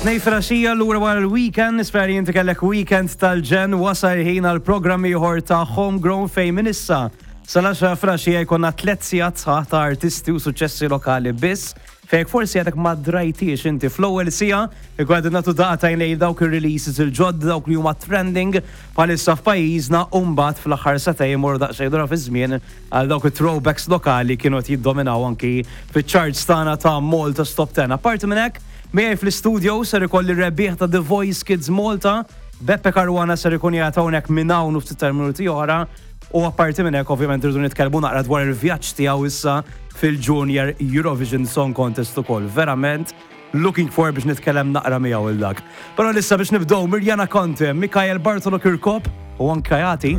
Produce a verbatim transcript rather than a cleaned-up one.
Tnejn filgħaxija lura wara l-weekend, nispera li inti kellek weekend tal-ġenn. Wasal ħin għal programm ieħor ta' Homegrown fejn minn issa sal-għaxra filgħaxija jkollna tliet sigħat sħaħ ta' artisti u suċċessi lokali biss. Fejn forsi għadek ma drajtiex inti, fl-ewwel siegħa ikun qed nagħtu daqqa lejn dawk ir-releases il-ġodda, dawk li huma trending bħalissa f'pajjiżna, u mbagħad fl-aħħar sagħtejn immorru daqsxejn lura fi żmien għal dawk it-throwbacks lokali kienu qed jiddominaw anki fiċ-charts tagħna ta' Malta Top ten. Apparti minn hekk, miegħi fl-studio ser ikolli rebbieħ ta' The Voice Kids Malta, Beppe Caruana, ser ikun qiegħed hawnhekk minn hawn u ftit tal-minuti oħra. U apparti minn hekk, ovvjament, irridu nitkellmu naqra dwar il-vjaġġ tiegħu issa fil-Junior Eurovision Song Contest ukoll. Verament looking forward biex nitkellem naqra miegħu il dak. Però issa biex nibdew, Mirjana Conte, Mikael Bartolo Kirkop u anka Jati.